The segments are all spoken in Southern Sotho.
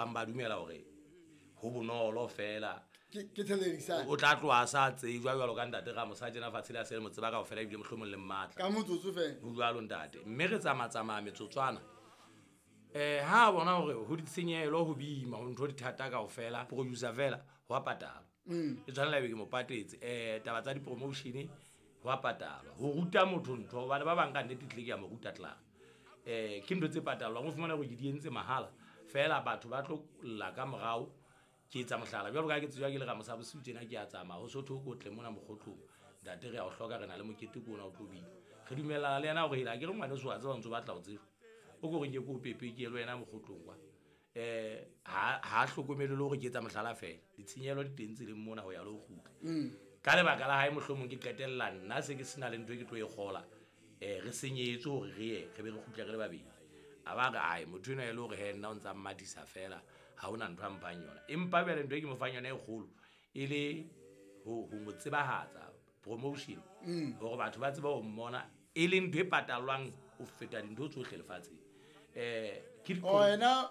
bang ba dumela hore ho bonolo fela. Ke thelelisane. O tla tloha a sa tsejwa jwalo ka ntate Ramosa tjena fatshe le a se le mo tseba kaofela ebile mohlomong le mmatla. Ka motsotso fela. Ho jwalo ntate. Mme re tsamatsamaya metsotswana. Ha a bona hore ho ditshenyehelo ho boima, ho ntho di thata kaofela, producer fela ho a patalwa. E tshwanela ebe ke mo patetse. Taba tsa di-promotion ho a patalwa. Ho ruta motho ntho hobane ba bang ka nnete tlile ke a mo ruta klaar. Ke ntho tse patalwang, o fumana hore ke di entse mahala fela batho ba tlo lla ka morao. Ke etsa mohlala jwalo ka ha ke tsejwa ke le Ramosa bosiu tjena ke a tsamaya ho sotho ko tle mona mokgotlong. Ntate re a o hloka, re na le mokete ko ona o tlo bina. Re dumellana le yena hore hela ke re ngwaneso wa tseba o ntso batla ho tsejwa. O ko re nke ko pepe ke ye le wena mokgotlong kwa. Ha hlokomele le hore ke etsa mohlala fela. Ditshenyehelo di teng tseleng mona ho ya le ho kgutla. Ka lebaka la hae mohlomong ke qetella nna se ke sena le ntho e ke tlo e kgola. Re senyehetswe hore re ye, re be re kgutle re le babedi. A ba re, ai, motho enwa e le hore he nna o ntsa mmathisa fela, ha hona ntho a mphang yona. Empa jwale ntho e ke mo fang yona e kgolo e le ho mo tsebahatsa, promotion, hore batho ba tsebe ho mmona, e leng ntho e patallwang ho feta dintho tsohle lefatsheng. Ke di- Oh, yena,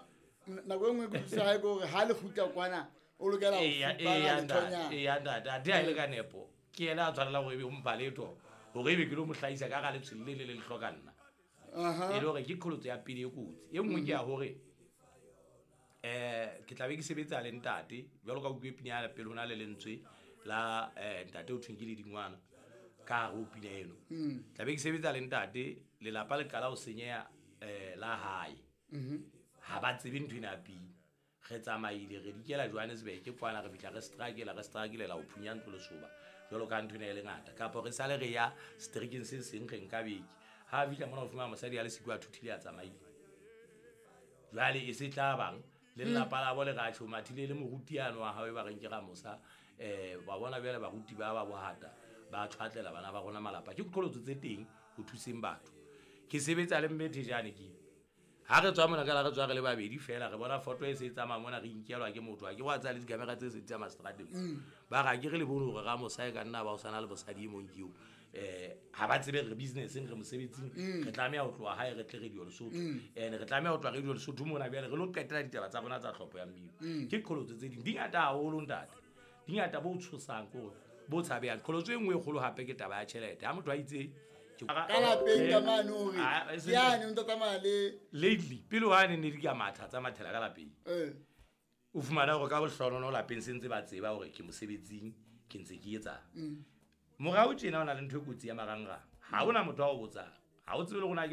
nako e nngwe ke utlwisisa hae ke hore ha le kgutla kwana, o lokela ho Eya, fupana eya, lethonyana. ntate, eya, ntate, athe ha e le ka nepo, ke yena a tshwanela hore ebe o mpha letho, hore ebe ke lo mo hlahisa ka hara letshwele le le le hloka nna. E le hore ke qholotso ya pele e kotsi. E nngwe ke ya hore, ke tla be ke sebetsa le ntate, jwalo ka utlwe pina ya pele ho na le lentswe la, ntate o thweng ke Ledingwana, ka hare ho pina eno. Tla be ke sebetsa le ntate, lelapa le qala ho senyeha, la hae. Ha ba tsebe ntho ena ya pina. Re tsamaile, re dikela Johannesburg kwana, re fihla re strike-ela, re strike-lela ho phunya ntlo lesoba, jwalo ka ntho ena e le ngata. Kapa re sale re ya strikeng se seng re nka beke. Ha a fihla mona o fumana mosadi a le siko a thuthile a tsamaile. Jwale e se tla bang le lelapa la bo le ra tjho, mathile le moruti yane wa hae ba reng ke Ramosa. Ba bona jwale baruti ba ba bohata ba tshwatlela bana ba rona malapa. Ke qholotso tse teng ho thuseng batho. Ke sebetsa le mme Thejane ke. Ha re tswa mona ka la re tswa re le babedi fela, re bona photo e se e tsamaya mona, re inkelwa ke motho. Ha ke wa tsaya le dikamera tse se di tsamaya seterateng. Ba re, ha ke re le bone hore Ramosa e ka nna ba o sana le mosadi e mong ke eo. Ha ba tsebe re business-eng, re mosebetsing, re tlameha ho tloha hae re tle Radio Lesotho. And re tlameha ho tloha Radio Lesotho mona jwale re lo qetela ditaba tsa rona tsa tlhopho ya mmino. Ke qholotso tse ding. Di ngata haholo ntate. Di ngata bo tshosang ke hore bo tshabehang. Qholotso e nngwe e kgolo hape ke taba ya tjhelete. Ha motho a itse ke Ka lapeng ka mane hore Ah, e se ke yane o ntsa tsamaya le Lately, pele hwane ne di ka matha tsa mathela ka lapeng. O fumana hore ka bohlonono lapeng se ntse ba tseba hore ke mosebetsing, ke ntse ke etsang. Morao tjena ho na le ntho e kotsi ya marangrang. Ha hona motho a o botsang. Ha o tsebe le hore na ke